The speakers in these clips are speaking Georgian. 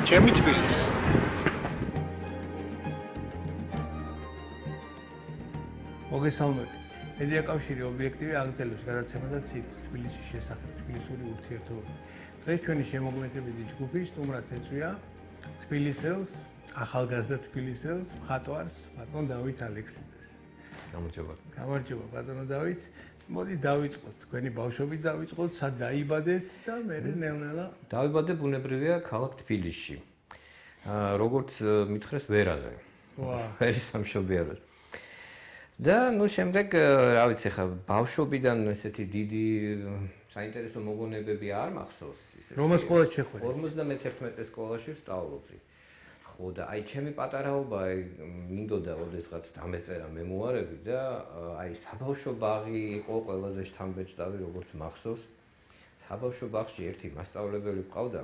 ჩემი თბილისი. მოგესალმებით. მედიაკავშირი ობიექტივი აგრძელებს გადაცემას თბილისის შესახებ, თბილისური ურთიერთობები. დღეს ჩვენი შემოქმედებითი ჯგუფი სტუმრად ეწვია თბილისელს, ახალგაზრდა თბილისელს, მხატვარს, ბატონ დავით ალექსიძეს. გამარჯობა. გამარჯობა, ბატონო დავით. მოდი დავიწყოთ, თქვენი ბავშვობით დავიწყოთ, სად დაიბადეთ და მე ნელ-ნელა დავიბადე ბუნებრივია ქალაქ თბილისში. როგორც მითხრეს ვერაზე. ვერის სამშობიაროდ. და შემდეგ რა ვიცი ხა ბავშვობიდან ესეთი დიდი საინტერესო მოგონებები არ მახსოვს ისე. რომელ სკოლაში შეხვედრით? 51 სკოლაში ვსწავლობდი. ხო და აი ჩემი პატარაობა მინდოდა ოდესღაც დამეწერა მემუარები და აი საბავშვო ბაღი იყო ყველაზე შთამბეჭდავი როგორც მახსოვს. საბავშვო ბაღში ერთი მასწავლებელი ყავდა,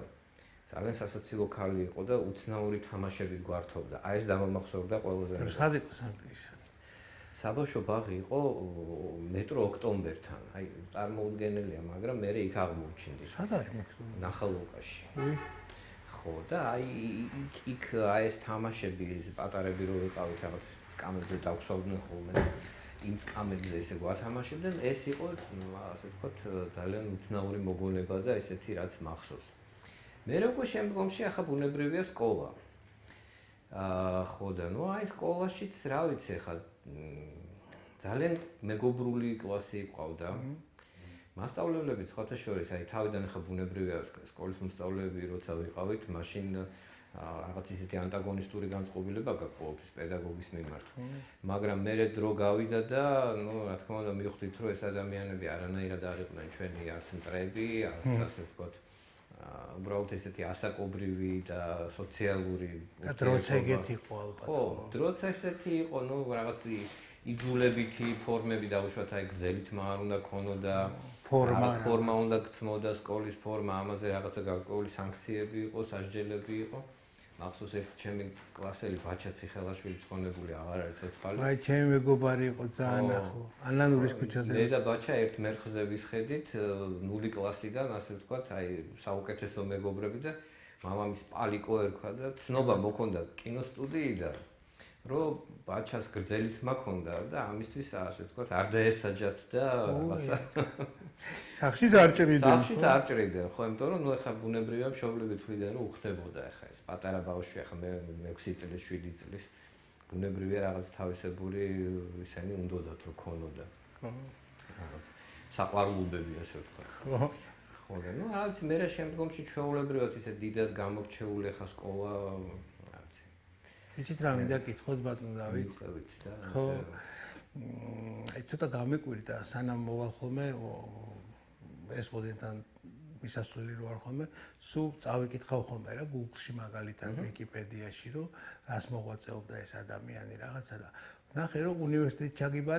ძალიან სასაცილო ქალი იყო და უცნაური თამაშებით გვართობდა. აი ეს დამამახსოვრდა ყველაზე. სად იყო სამგლისი? საბავშვო ბაღი იყო მეტრო ოქტომბერთან. აი წარმოუდგენელია, მაგრამ მე იქ აღმოჩნდი. სად არის მეტრო? ნახალოვკაში. ხო და აი იქ აი ეს თამაშები, ეს პატარები რო ვიყავით რაღაც სკამებზე დავხსოვდნენ ხოლმე. იმ სკამებზე ესე გვათამაშებდნენ, ეს იყო ასე ვთქვათ ძალიან უცნაური მოგონება და ესეთი რაც მახსოვს. მე როგორ შემდგომში ახლა ბუნებრივია სკოლა. ხო და ნუ აი სკოლაშიც რა ვიცი ახლა ძალიან მეგობრული კლასი ყავდა. მასწავლებლები სხვათა შორის აი თავიდან ახლა ბუნებრივია სკოლის მოსწავლეები როცა ვიყავით, მაშინ რაღაც ისეთი ანტაგონისტური განწყობილება გაქვს პედაგოგის მიმართ. მაგრამ მე დრო გავიდა და ნუ რა თქმა უნდა მივხვდით რომ ეს ადამიანები არანაირად არ იყვნენ ჩვენი არც მტრები, არც ასე ვთქვათ უბრალოდ ესეთი ასაკობრივი და სოციალური და დროც ეგეთი იყო ალბათ. ხო, დროც ესეთი იყო, ნუ რაღაც იძულებითი ფორმები დაუშვათ, აი გზელითმა არ უნდა ქონოდა, ფორმა უნდა გცმოდა, სკოლის ფორმა, ამაზე რაღაცა გარკვეული სანქციები იყო, სასჯელები იყო. მახსოვს ერთ ჩემი კლასელი ბაჩა ციხელაშვილი ცხონებული აღარ არის ცოცხალი. აი ჩემი მეგობარი იყო ძალიან ახლო. ანანურის ქუჩაზე. მე და ბაჩა ერთ მერხზე ვისხედით 0 კლასიდან, ასე ვთქვათ, აი საუკეთესო მეგობრები და მამამის პალიკო ერქვა და ცნობა მოქონდა კინოსტუდიიდან. რომ ბაჩას გრძელით მაქონდა და ამისთვის ასე ვთქვათ არ დაესაჯათ და რაღაცა სახშიც არ ჭრიდნენ. სახშიც არ ჭრიდნენ, ხო, იმიტომ რომ ნუ ეხა ბუნებრივია მშობლები თვლიდნენ რომ უხდებოდა ეხა ეს პატარა ბავშვი ეხა მე 6 წლის 7 წლის ბუნებრივია რაღაც თავისებური ისენი უნდათ რომ ქონოდა. ხო. რაღაც საყვარლობები ასე ვთქვათ. ხო. ხო და ნუ რა ვიცი მე რა შემდგომში ჩვეულებრივად ისე დიდად გამორჩეული ეხა სკოლა იცით რა მინდა გითხოთ ბატონო დავით? ხო. აი ცოტა გამეკვირდა სანამ მოვალ ხოლმე ესპოდენთან მისასვლელი რო არ ხოლმე, სულ წავიკითხავ ხოლმე რა Google-ში მაგალითად Wikipedia-ში რომ რას მოღვაწეობდა ეს ადამიანი რაღაცა და ნახე რომ უნივერსიტეტში ჩაგიბარე